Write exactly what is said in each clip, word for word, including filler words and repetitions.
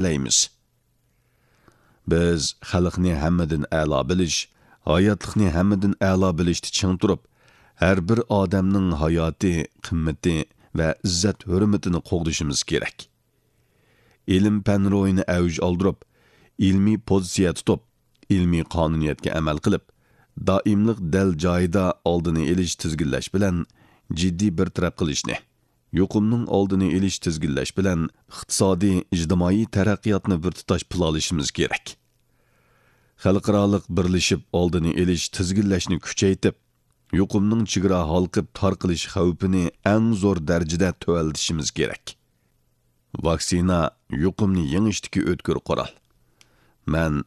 تەلەيمىز. بىز خەلقنى ھەممىدىن ئەلا بىلىش، ھاياتلىقنى ھەممىدىن ئەلا بىلىشتە چىڭ تۇرۇپ، ھەر بىر ئادەمنىڭ ھاياتى، قىممىتى ۋە ئىززەت-ھۆرمىتىنى قوغدىشىمىز كېرەك. ئىلىم-پەن روھىنى ئەۋج ئالدۇرۇپ، ئىلمىي پوزىتسىيە تۇتۇپ، ئىلمىي قانۇنىيەتكە ئەمەل قىلىپ، دائىملىق دەل جايىدا ئالدىنى ئېلىش، تىزگىنلەش بىلەن جىددىي بىر تەرەپ قىلىشنى، يۇقۇمنىڭ ئالدىنى ئېلىش، تىزگىنلەش بىلەن ئىقتىسادىي، ئىجتىمائىي تەرەققىياتنى بىر تۇتاش پىلانلىشىمىز كېرەك. خەلقئارالىق بىرلىشىپ ئالدىنى ئېلىش، تىزگىنلەشنى كۈچەيتىپ، يۇقۇمنىڭ چېگرا ھالقىپ تارقىلىش خەۋپىنى ئەڭ زور دەرىجىدە تۆۋەنلىتىشىمىز كېرەك. ۋاكسىنا يۇقۇمنى يېڭىشتىكى ئۆتكۈر قورال. مەن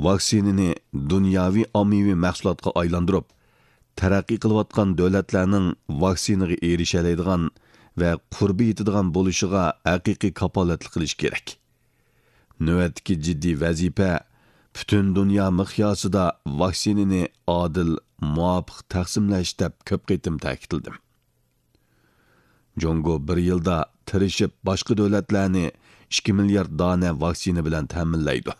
ۋاكسىنىنى دۇنياۋى ئاممىۋى مەھسۇلاتقا ئايلاندۇرۇپ، تەرەققىي قىلىۋاتقان دۆلەتلەرنىڭ ۋاكسىنىغا ئېرىشەلەيدىغان ۋە قۇربى يېتىدىغان بولۇشىغا ھەقىقىي كاپالەتلىك قىلىش كېرەك. نۆۋەتتىكى جىددىي ۋەزىپە، پۈتۈن دۇنيا مىقياسىدا ۋاكسىنىنى ئادىل، مۇۋاپىق تەقسىملەش، دەپ كۆپ قېتىم تەكىتلىدىم. جۇڭگو بىر يىلدا تىرىشىپ باشقا دۆلەتلەرنى ئىككى مىليارد دانە ۋاكسىنا بىلەن تەمىنلەيدۇ.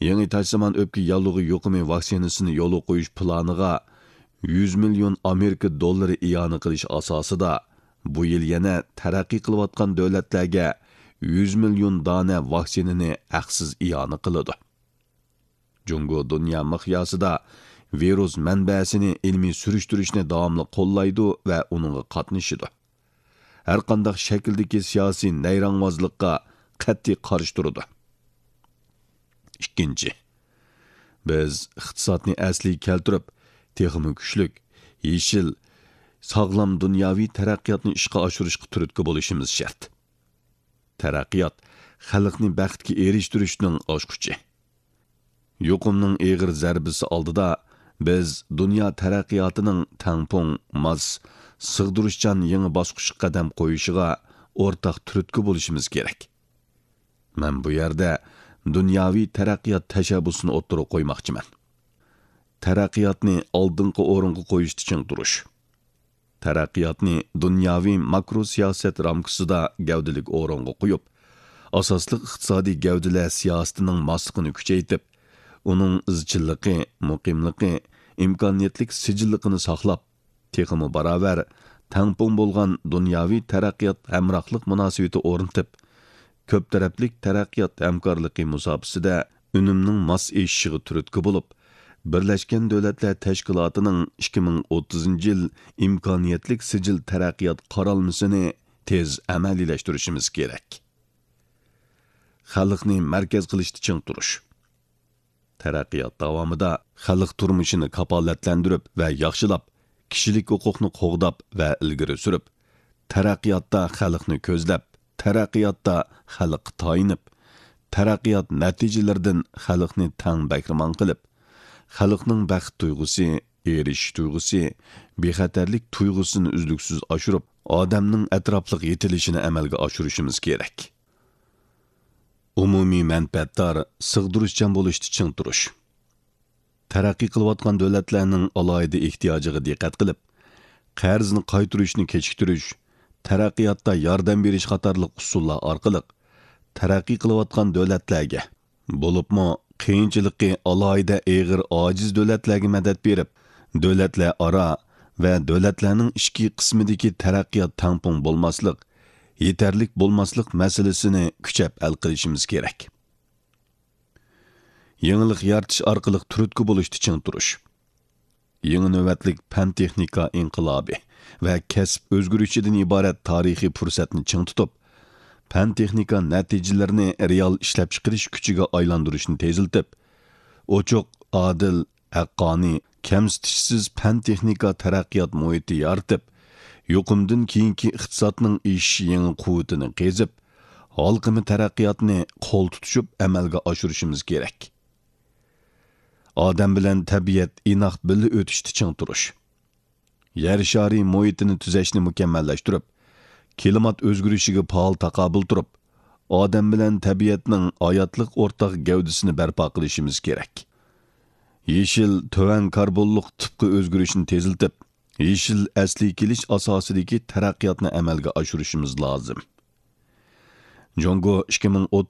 يېڭى تاشسىمان ئۆپكە ياللۇغى يۇقۇمى ۋاكسىنىسىنى يولغا قويۇش پىلانىغا يۈز مىليون ئامېرىكا دوللىرى ئىئانە قىلىش ئاساسىدا، بۇ يىل يەنە تەرەققىي قىلىۋاتقان دۆلەتلەرگە يۈز مىليون دانە ۋاكسىنىنى ھەقسىز ئىئانە قىلىدۇ. جۇڭگو دۇنيا مىقياسىدا ۋىرۇس مەنبەسىنى ئىلمىي سۈرۈشتۈرۈشنى داۋاملىق قوللايدۇ ۋە ئۇنىڭغا قاتنىشىدۇ. ھەرقانداق شەكىلدىكى سىياسىي نەيرەڭۋازلىققا قەتئىي قارشى تۇرىدۇ. ئىككىنچى، بىز ئىقتىسادنى ئەسلىگە كەلتۈرۈپ، تېخىمۇ كۈچلۈك، يېشىل، ساغلام دۇنياۋى تەرەققىياتنى ئىشقا ئاشۇرۇشقا تۈرتكە بولۇشىمىز شەرت. تەرەققىيات خەلقنى بەختكە ئېرىشتۈرۈشنىڭ ئاچقۇچى. يۇقۇمنىڭ ئېغىر زەربىسى ئالدىدا بىز دۇنيا تەرەققىياتىنىڭ تەڭپۇڭ، ماس، سىغدۇرۇشچان يېڭى باسقۇچقا قەدەم قويۇشىغا ئورتاق تۈرتكە بولۇشىمىز كېرەك. مەن بۇ يەردە دۇنياۋى تەرەققىيات تەشەببۇسىنى ئوتتۇرىغا قويماقچىمەن. تەرەققىياتنى ئالدىنقى ئورۇنغا قويۇشتا چىڭ تۇرۇش. تەرەققىياتنى دۇنياۋى ماكرو سىياسەت رامكىسىدا گەۋدىلىك ئورۇنغا قويۇپ، ئاساسلىق ئىقتىسادىي گەۋدىلەر سىياسىتىنىڭ ماسلىقىنى كۈچەيتىپ، ئۇنىڭ ئىزچىللىقى، مۇقىملىقى، ئىمكانىيەتلىك سىجىللىقىنى ساقلاپ، تېخىمۇ باراۋەر، تەڭپۇڭ بولغان دۇنياۋى تەرەققىيات ھەمراھلىق مۇناسىۋىتى ئورنىتىپ، كۆپ تەرەپلىك تەرەققىيات ھەمكارلىقى مۇساپىسىدە ئۈنۈمنىڭ ماس ئېشىشىغا تۈرتكە بولۇپ، بىرلەشكەن دۆلەتلەر تەشكىلاتىنىڭ ئىككى مىڭ ئوتتۇزىنچى يىل ئىمكانىيەتلىك سىجىل تەرەققىيات قارالمىسىنى تېز ئەمەلىيلەشتۈرۈشىمىز كېرەك. خەلقنى مەركەز قىلىشتا چىڭ تۇرۇش. تەرەققىيات داۋامىدا خەلق تۇرمۇشىنى كاپالەتلەندۈرۈپ ۋە ياخشىلاپ، كىشىلىك ھوقۇقنى قوغداپ ۋە ئىلگىرى سۈرۈپ، تەرەققىياتتا خەلقنى كۆزلەپ، تەرەققىياتتا خەلققە تايىنىپ، تەرەققىيات نەتىجىلىرىدىن خەلقنى تەڭ بەھرىمەن قىلىپ، خەلقنىڭ بەخت تۇيغۇسى، ئېرىشىش تۇيغۇسى، بىخەتەرلىك تۇيغۇسىنى ئۈزلۈكسىز ئاشۇرۇپ، ئادەمنىڭ ئەتراپلىق يېتىلىشىنى ئەمەلگە ئاشۇرۇشىمىز كېرەك. ئومۇمىي مەنپەئەتدار، سىغدۇرۇشچان بولۇشتا چىڭ تۇرۇش. تەرەققىي قىلىۋاتقان دۆلەتلەرنىڭ ئالاھىدە ئېھتىياجىغا دىققەت قىلىپ، قەرزنى قايتۇرۇشنى كېچىكتۈرۈش، تەرەققىياتتا ياردەم بېرىش قاتارلىق ئۇسۇللار ئارقىلىق تەرەققىي قىلىۋاتقان دۆلەتلەرگە، بولۇپمۇ قىيىنچىلىقى ئالاھىدە ئېغىر ئاجىز دۆلەتلەرگە مەدەت بېرىپ، دۆلەتلەر ئارا ۋە دۆلەتلەرنىڭ ئىچكى قىسمىدىكى تەرەققىيات تەڭپۇڭ بولماسلىق، يېتەرلىك بولماسلىق مەسىلىسىنى كۈچەپ ھەل قىلىشىمىز كېرەك. يېڭىلىق يارىتىش ئارقىلىق تۈرتكە بولۇشتا چىڭ تۇرۇش. يېڭى نۆۋەتلىك پەن-تېخنىكا ئىنقىلابى ۋە كەسىپ ئۆزگىرىشىدىن ئىبارەت تارىخىي پۇرسەتنى چىڭ تۇتۇپ، پەن-تېخنىكا نەتىجىلىرىنى رېئال ئىشلەپچىقىرىش كۈچىگە ئايلاندۇرۇشنى تېزلىتىپ، ئوچۇق، ئادىل، ھەققانىي، كەمسىتىشسىز پەن-تېخنىكا تەرەققىيات مۇھىتى يارىتىپ، يۇقۇمدىن كېيىنكى ئىقتىسادنىڭ ئېشىش يېڭى قۇۋۋىتىنى قېزىپ، ھالقىما تەرەققىياتنى قول تۇتۇشۇپ ئەمەلگە ئاشۇرۇشىمىز كېرەك. ئادەم بىلەن تەبىئەت ئىناق بىللە ئۆتۈشتە چىڭ تۇرۇش. يەر شارى مۇھىتىنى تۈزەشنى مۇكەممەللەشتۈرۈپ، كىلىمات ئۆزگىرىشىگە پائال تاقابىل تۇرۇپ، ئادەم بىلەن تەبىئەتنىڭ ھاياتلىق ئورتاق گەۋدىسىنى بەرپا قىلىشىمىز كېرەك. يېشىل تۆۋەن كاربونلۇق تىپقا ئۆزگىرىشنى تېزلىتىپ، يېشىل ئەسلىگە كېلىش ئاساسىدىكى تەرەققىياتنى ئەمەلگە ئاشۇرۇشىمىز لازىم. جۇڭگو ئىككى مىڭ ئوتتۇز